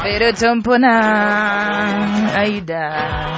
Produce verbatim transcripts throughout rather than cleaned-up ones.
Leero tompona Aida.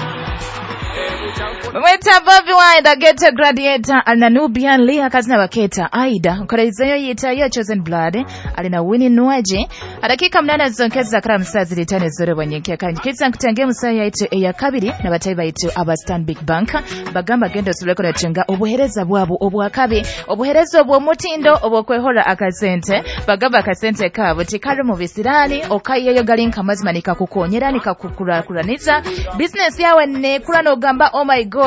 Bamweta Bobi Wine, the Ghetto Gladiator, alina Nubian Lee akazina baketa Aida nkolezeyo yitayo Chosen Blood alina Winnie Nwaje adakika mnana zonkeza kala msazi litane zore bwanyenkya kanji kitsa nkutange musaya yaitu eya kabiri na batayi baitu aba Stanbic Bank bagamba gendo suleko natenga obuhereza bwabo obwakabi obuhereza obw'omutindo obwokwehora akasente bagamba akasente kabo tikali mu bisirani okayeyo galinka mazima nikakukonyera nikakukurakuraniza business yawe nekura nogamba oh my god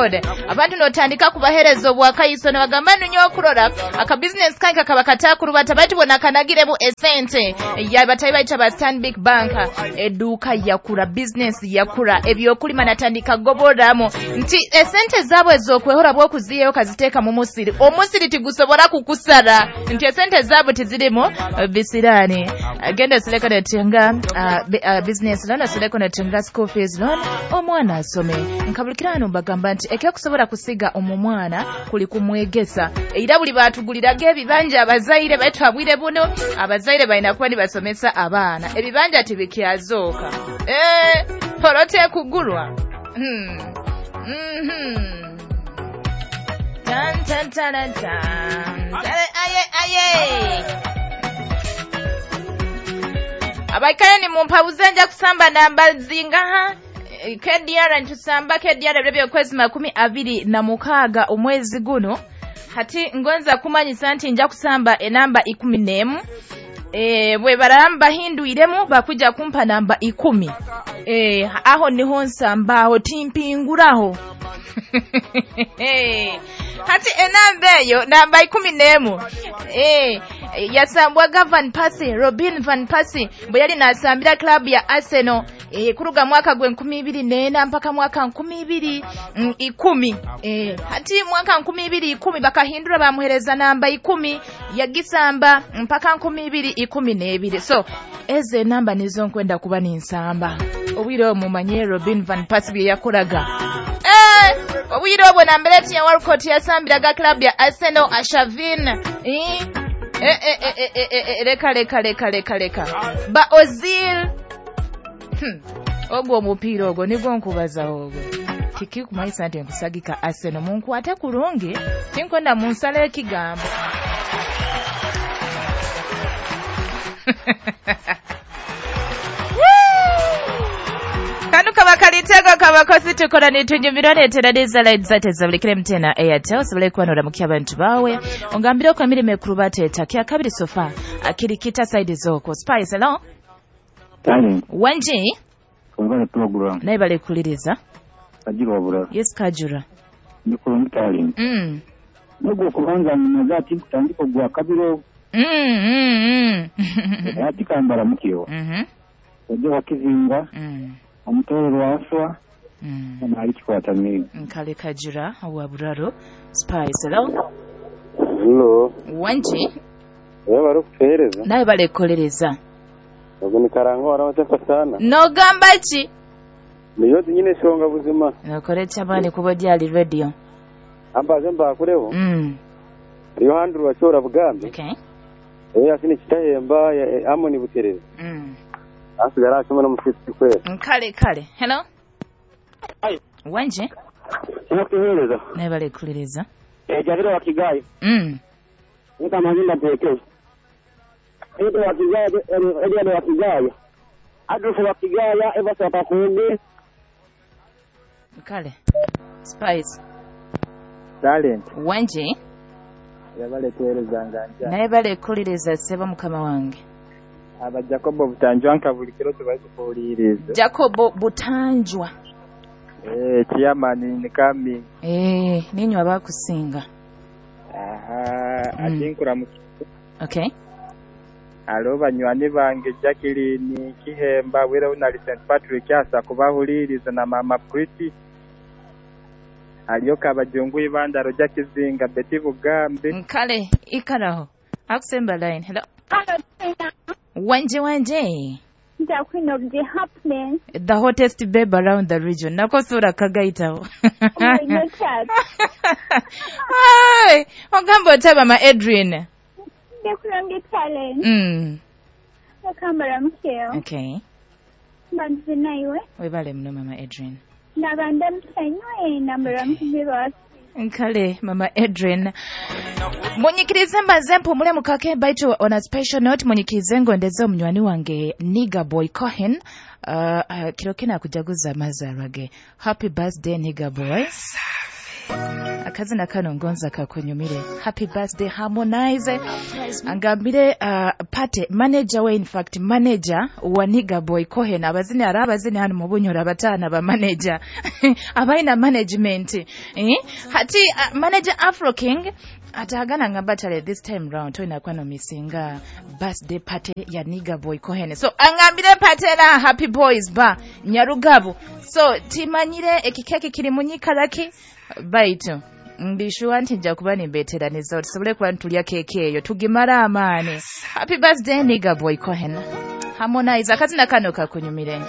abantu notandika kubahereza obwakayiso nabagamba nunyo okurora aka business kange kakaba katakurubata bati bona kanagiremu esente ya batayi baitu aba Stanbic Bank eduka yakura business yakura ebyokulima natandika goboramu nti esente zabwe ezokwehora bwokuziyeyo kaziteeka mu musiri omusiri tigusobola kukusara nti esente zabwe tizirimu bisirani genda sileko netinga uh, uh, business loan sileko netinga school fees loan omwana asome nkabulikirano mbagamba nti ekyokusobola kusiga omumwana kuli kumwegesa era buli batuguliraga ebibanja abazaire baitu abwire buno abazaire balina kuba nibasomesa abaana ebibanja tibikyazooka eh porote kugulwa hmm mhm tan tan tan tan aye aye abaikale ni mumpabuze nja kusamba namba zingaha K D R ntusamba K D R ebyo kwezi makumi abiri na mukaaga omwezi guno hati ngonza kumanyisa nti nja kusamba enamba ikumi n'emu e, bwe baramba hinduiremu bakuja kumpa namba ikumi e, aho niho nsamba aho timpinguraho hati enamba eyo namba ikumi n'emu e, yasambwaga Van Persie Robin Van Persie bwe yali nasambira club ya Arsenal e, kuruga mwaka gwe nkumi ibiri n'ena mpaka mwaka nkumi ibiri mm, ikumi e, hati mwaka nkumi ibiri ikumi bakahindura bamuhereza namba ikumi yagisamba mpaka nkumi ibiri ikumi n'ebiri so eze namba nizo nkwenda kuba ninsamba obwire mumanye Robin Van Persie bye yakoraga eh obwire obwo nambere ya Walcott yasambiraga club ya Arsenal Ashavin eh Eh, eh, eh, eh, eh, leka leka leka leka leka ba Ozil hmm. Ogwo omupiira ogwo nigwo nkubaza ogwo tiki kumayisa nti nkusagika Arsenal munkwate kulungi tinkwenda munsala ekigambo Kanu kaba kalitego kabakosi tukora nitunyumirwa neteraniza line zate zabulikire mtena Airtel sabule kuba noramukia abantu bawe ongambire ko emirimo ekuru bateta kya kabiri sofa akirikita side zoko Spice hello Tani Wanji Ongana program naye bale kuliriza Kajura bura Yes Kajura Ndikuru mutali Mm Nubwo kubanza munazati kutandika gwa kabiro Mm mm mm Ati kambara mukiyo Mhm Ojo wakizinga Mm Omutoro waswa Mm Nali kikwata mimi Nkale Kajura wa Buraro Spice hello Hello Wanji Wewe bari kutuhereza Naye bale kolereza Ubwo ni karango warabatefa sana Nogamba ki Niyo nyine shonga buzima Nakorecha abandi kuba dyali radio Ambaze mbakureho Mm Riyo handru wachora bugambe Okay Eh asini kitahemba amoni butereza Mm Asigara ashoma no musitsi kwera Nkale kale hello Ayo Wanje Nakuhereza Naye bale kuliriza Eh Javiro wa Kigayo Mm Nika mazinda peke Ito wa Kigayo Eliade wa Kigayo Adolfo wa Kigayo Eva Sapakunde Kale Spice Talent Wanje Yabale kuhereza nganja Naye bale kuliriza seba mukama wange Aba Jacobo Butanjwa nka buli kiro tubaye kuwuliriza Jacobo Butanjwa Eh chairman ni kami Eh ninyo abakusinga Aha mm. atinkura mu Okay Alo banywani bange Jacqueline Kihemba wera unali Saint Patrick asa kubahuliriza na mama Pretty Aliyoka abajungu ibandaro Jackizinga Betty Bugambe Nkale ikaraho akusemba line hello Wanje wanje The queen of the happiness The hottest babe around the region nakosura kagaitaho Oh my God Hi ogamba otaba ma Adrian Ndikurange talent Mm Nakambara mukeo Okay Mbanze naiwe. Webale muno, Mama Adrian. Nabanda mutanywe nambara mukubirwa. Nkale, Mama Adrian, munyikirize mbanze mpumule mukake, baitu on a special note munyikirize ngondeze omunywani wange Nigga Boy Cohen. uh, uh, kiro kina kujaguza amazarwa ge. Happy birthday, Nigga Boy. Akazina kano ngonza kakunyumire. Happy birthday. Harmonize angambire uh, pate manager we, in fact manager wa Nigga Boy Cohen. Abazini ari abazini hano mu Bunyoro abatana ba manager abaina management, eh? Hati uh, manager Afro King atagana ngamba tale this time round toina kwano misinga birthday party ya Nigga Boy Cohen. So angambire patera Happy Boys ba Nyarugabo. So timanyire ekikeke kiri munyikalaki, baitu ndishuwa nti nja kuba nimbeteraniza tusobole kuba ntulya keeki eyo tugimara amaani. Happy birthday, Nigga Boy Cohen. Harmonize, akazina kano kakunyumire.